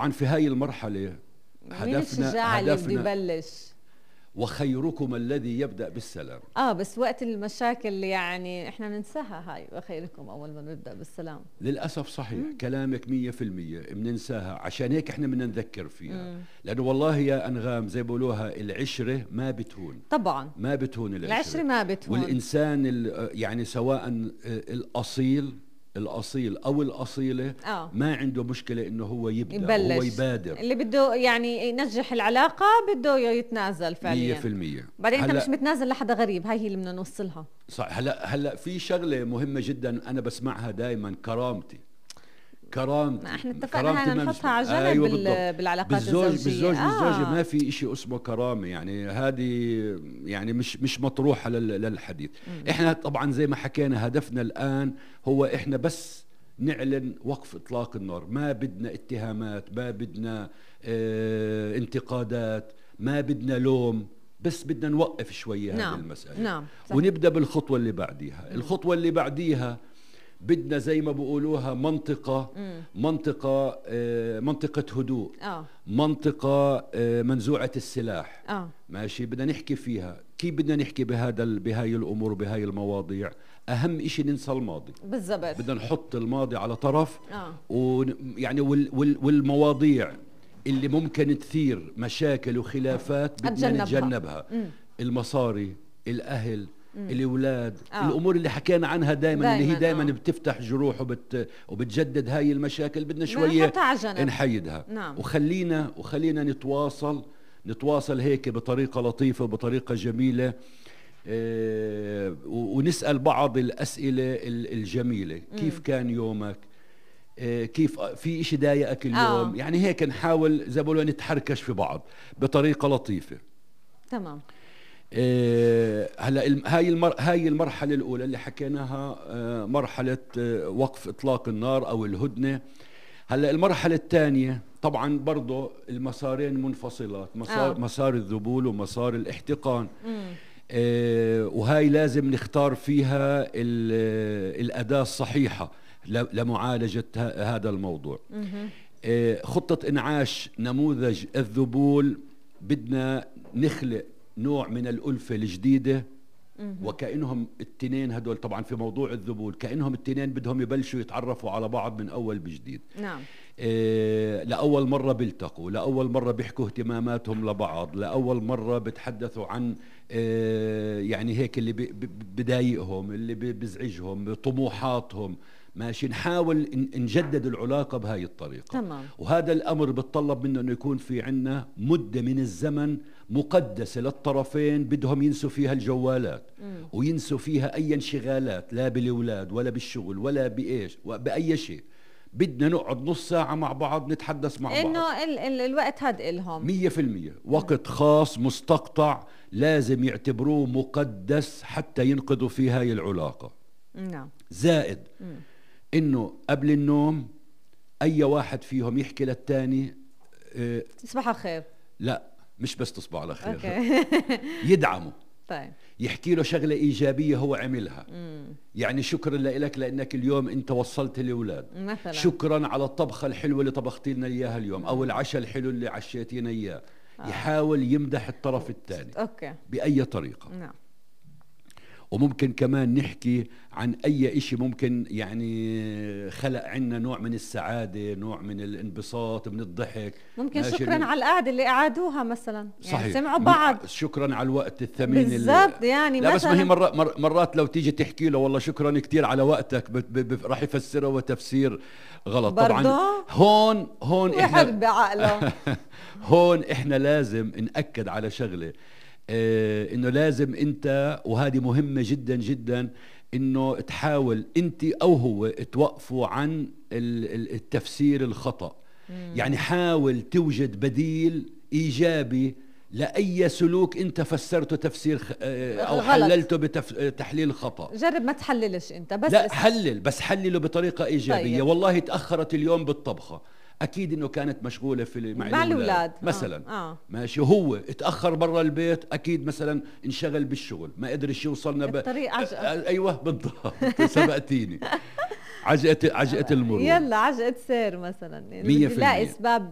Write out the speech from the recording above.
طبعا في هاي المرحلة مين الشجاع اللي بده يبلش؟ وخيركم الذي يبدأ بالسلام. بس وقت المشاكل يعني احنا بننساها هاي، وخيركم اول ما نبدأ بالسلام. للأسف صحيح. كلامك 100% بننساها، عشان هيك احنا بدنا نذكر فيها. لأنه والله يا أنغام زي بقولوها العشرة ما بتهون. طبعا ما بتهون العشرة ما بتهون. والإنسان يعني سواء الأصيل أو الأصيلة ما عنده مشكلة إنه هو يبدأ، هو يبادر. اللي بده يعني ينجح العلاقة بده يتنازل فعليا 100%. بعدين أنت مش متنازل لحدا غريب، هاي هي اللي بدنا نوصلها. صح. هلا في شغلة مهمة جدا أنا بسمعها دائما، كرامتي. ما احنا اتفقنا نحطها على جنب. أيوة بالعلاقات الزوجية. بالزوجة ما في إشي اسمه كرامة، يعني هذه يعني مش مطروحة للحديث. احنا طبعا زي ما حكينا هدفنا الآن هو احنا بس نعلن وقف إطلاق النار. ما بدنا اتهامات، ما بدنا انتقادات، ما بدنا لوم، بس بدنا نوقف شوية هذه المسألة. نعم. ونبدأ بالخطوة اللي بعديها. الخطوة اللي بعديها بدنا زي ما بقولوها منطقة هدوء. منطقة منزوعة السلاح. ماشي. بدنا نحكي فيها. كيف بدنا نحكي بهاي الأمور وبهاي المواضيع؟ أهم إشي ننسى الماضي. بالضبط. بدنا نحط الماضي على طرف. ويعني والمواضيع اللي ممكن تثير مشاكل وخلافات بدنا نتجنبها. المصاري، الأهل، الأولاد، الأمور اللي حكينا عنها دائما اللي هي دائما بتفتح جروح وبتجدد هاي المشاكل، بدنا شوية نحيدها. وخلينا نتواصل هيك بطريقة لطيفة وبطريقة جميلة. ونسأل بعض الأسئلة الجميلة. كيف كان يومك؟ كيف في إشي ضايقك اليوم؟ يعني هيك نحاول زي ما بقولوا نتحركش في بعض بطريقة لطيفة. تمام. هلا هاي المرحلة الأولى اللي حكيناها مرحلة وقف إطلاق النار أو الهدنة. هلا المرحلة الثانية طبعا برضو المسارين منفصلات، مسار الذبول ومسار الاحتقان. وهاي لازم نختار فيها الأداة الصحيحة لمعالجة هذا الموضوع. خطة إنعاش نموذج الذبول، بدنا نخلق نوع من الألفة الجديدة. وكأنهم التنين هدول طبعا في موضوع الذبول كأنهم التنين بدهم يبلشوا يتعرفوا على بعض من أول بجديد. نعم. لأول مرة بيلتقوا، لأول مرة بيحكوا اهتماماتهم لبعض، لأول مرة بتحدثوا عن يعني هيك اللي بضايقهم، اللي بزعجهم، طموحاتهم. ماشي. نحاول نجدد العلاقة بهاي الطريقة. تمام. وهذا الأمر بتطلب منه أنه يكون في عنا مدة من الزمن مقدسة للطرفين بدهم ينسوا فيها الجوالات وينسوا فيها أي انشغالات، لا بالأولاد ولا بالشغل ولا بأي شيء. بدنا نقعد نص ساعة مع بعض نتحدث مع بعض، إنه الوقت هاد إلهم 100% وقت خاص مستقطع لازم يعتبروه مقدس حتى ينقذوا في هاي العلاقة. نعم. زائد إنه قبل النوم أي واحد فيهم يحكي للتاني تصبح على خير. لا مش بس تصبح على خير. أوكي. يدعمه. طيب. يحكي له شغلة إيجابية هو عملها. يعني شكرا لك لأنك اليوم أنت وصلت الأولاد مثلا. شكرا على الطبخة الحلوة اللي طبختي لنا إياها اليوم أو العشاء الحلو اللي عشيتينا إياه. يحاول يمدح الطرف الثاني. أوكي. بأي طريقة. نعم. وممكن كمان نحكي عن أي إشي ممكن يعني خلق عنا نوع من السعادة، نوع من الانبساط، من الضحك. ممكن شكرا على القعدة اللي قعدوها مثلا، يعني صحيح. سمعوا بعض. شكرا على الوقت الثمين بالضبط. يعني لا بس ما هي مرات لو تيجي تحكي له والله شكرا كتير على وقتك راح يفسره وتفسير غلط. طبعا هون احنا بعقله. هون احنا لازم نأكد على شغلة، انه لازم انت، وهذه مهمة جدا جدا، انه تحاول انت او هو توقفوا عن التفسير الخطأ. يعني حاول توجد بديل ايجابي لأي سلوك انت فسرته تفسير او حللته بتحليل خطأ. جرب ما تحللش انت، بس لا حلل، بس حلله بطريقة ايجابية. طيب. والله تأخرت اليوم بالطبخة، اكيد انه كانت مشغوله مع الاولاد مثلا. ماشي. وهو اتاخر برا البيت، اكيد مثلا انشغل بالشغل، ما قدرش يوصلنا الطريق عجقة. ايوه بالضبط. سبقتيني. عجقة المرور. يلا عجقة سير مثلا، يعني 100% بدي لاقي اسباب